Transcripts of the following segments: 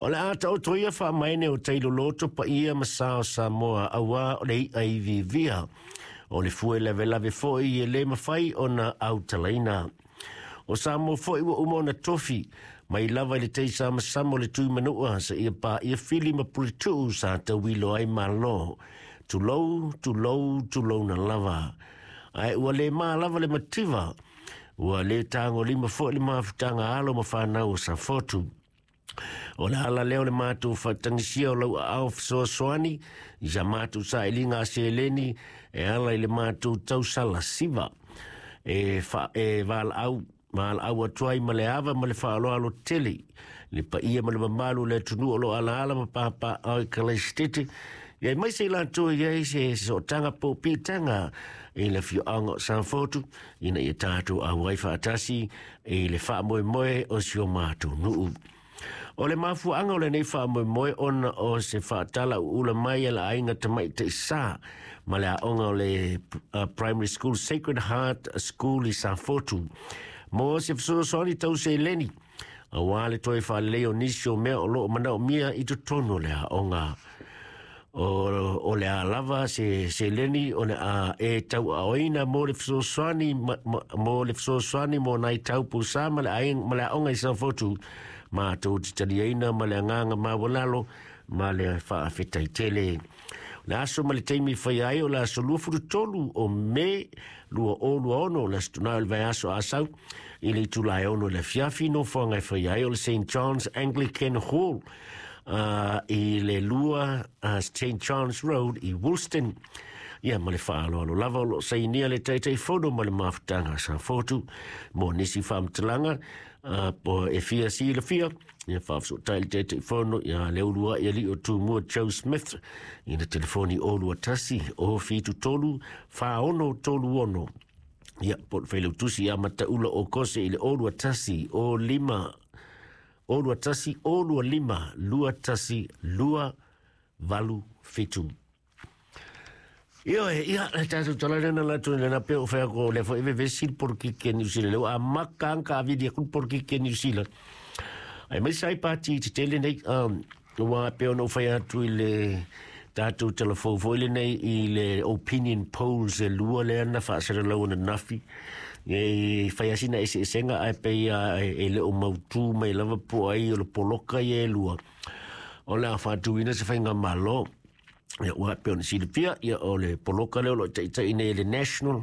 O le a taoto ia faamaene o tailoloto paia ma sa o Samoa auā o le i'a i vivia. O le fue lavelave foi e le mafai ona autalaina. O Samoa foi ua uma ona tofi, mai lava i le teisamasama o le Tuimanua seia paia Fili ma Puletuu sa tauilo ai Malo. Tulou, tulou, tulouna lava. Ae ua le ma lava le mativa, ua le tagolima foi le mafutaga a alo ma fanau o Safotu. O le ala lea o le matou faatagisia o lau aao fesoasoani i sa matou sailiga a seleni e ala i le matou tausala siva e, fa, e valaau valaau atu ai ma le ava ma le faaaloalo tele le paia ma le mamalu o le atunuu o lo o alaala ma papaaao i Kalaisitete ia aemaise i latou e i ai se sootaga po o piitaga i le afioaga o Safotu ina ia tatou auai faatasi i le faamoemoe o si o matou nuu. O le mafuaaga o lenei faamoemoe ona o se faatala uula mai a le aiga tamaitai sa ma le aoga o le Primary School Sacred Heart School i Safotu mo se fesoasoani tau seleni auā le toe faalelei o nisi o mea o lo o manaomia i totonu o le aoga. O le a lava se seleni o le a e tauaaoina mo le fesoasoani mo le fesoasoani mo nai tau pūsā ma le aiga ma le aoga i Safotu matou te taliaina ma le agaga maualalo ma le faafetai tele. O le aso ma le taimi e faia ai o le aso 23 o Me 2026 o le Aso Toonai o le vaiaso Asau i le itula e 6 i le afiafi nofoaga e faia ai o le St John's Anglican Hall i le 2 St John's Road i Woolston. Ia ma le faaaloalo lava o lo o sainia le Taitaifono ma le Mafutaga a Safotu mo nisi faamatalaga po e fia silafia ia faafesootai le Taitaifono ia Leulua'i Alii o Tumua Joe Smith i le telefoni 021 073 4636. Ia po o le Failautusi ia Mataula o Kose i le 021 05 021 025 21 287. Ioe, ia, le tatou tala lea na latou lena pe o fai atu o lea foi e vevesi le polokiki a New Zealand. Lea ua amata lava ona taavili atu le polokiki a New Zealand. Aemaise ai pati tetele nei, aua e pei ona ou fai atu i le tatou talafou foi lenei i le opinion polls e lua lea na faasalalau ananafi, e fai lava sina eseesega ae pei lava e le o mautu mai lava po o ai o le poloka ia e lua o le a faatuina se faigamalo. Ia, ua pei ona silafia, ia, o le poloka lea o lo o taitai nei e le National,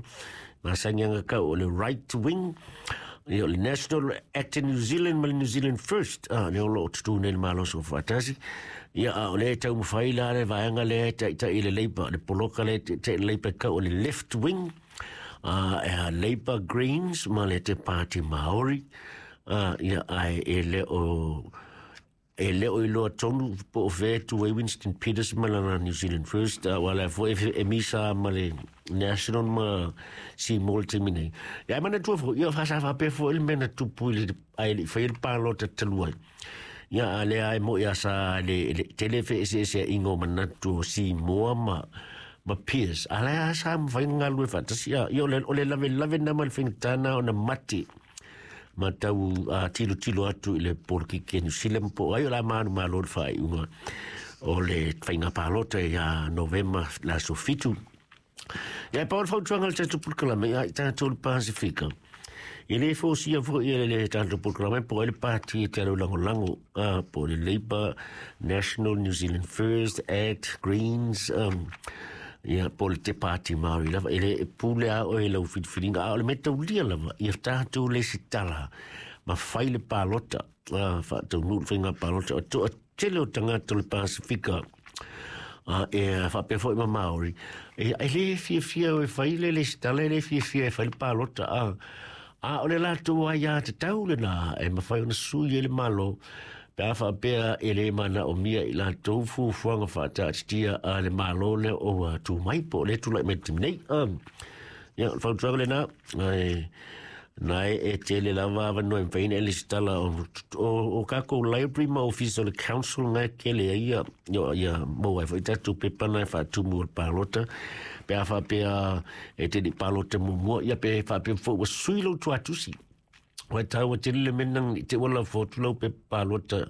masani aga tau o le right wing, ia, o le National Act in New Zealand ma le New Zealand First, lea o lo o tutū nei le Malo Soofaatasi. Ia, a o lea e taumafai la le vaega lea e taitai i le Labour, le poloka lea e taitai i le Labour e tau o le left wing, e Labour Greens ma le Te Pāti Māori, ia, ae e le o E le o iloa tonu po o fea e tu ai Winston Peters ma lana New Zealand First, aua la foi e misa ma le National ma Seymour i le taimi nei. Ia, e manatua foi, ia, sa faapea foi le mea na tupu i le, ae le i faia le palota talu ai. Ia, a lea e moni a sa le tele feeseeseaiga o manatu o Seymour ma Pearce. A lea sa mafai ona galulue faatasi. Ia, o le lavelave lena ma le faigata lena ona mate ma tau tilotilo atu i le polokiki a New Zealand po o ai o le a manumalo le faaiuga o le faiga palota ia Novema le aso 7. Ia, e pau le fautuaga a le tatou polokalame ia i tatou le Pasifika. E le fausia foi e le tatou polokalame po o ai le pati e te alu lagolago po o le Labour, National, New Zealand First, Act, Greens, ia po o le Te Pāti Māori lava, e le e pule a oe i lau filifiliga, a o le mea taulia lava, ia tatou lesitala ma fai le palota, faataunuu le faiga palota, o toatele o tagata o le Pasifika, e faapea foi ma Māori, e le fiafia e fai le lesitala, e le fiafia e fai le palota, a o le latou aiatatau lena e mafai ona sui ai le Malo, Pe a faapea e le manaomia i latou fuafuaga faataatitia a le Malo lea o ua tu mai po o lea e tulai mai i le taimi nei. Ia, o le fautuaga lena, ae na e tele lava avanoa e mafai ona e lesitala o tatou library ma ofisa o le council na e tele ai ia, ia maua ai foi tatou pepa na e faatumu o le palota. Pe a faapea e te le i palota muamua, ia pe faapea foi ua sui lou tuatusi. Ua taua tele le mea nang i te ua lafo atu lau pepa palota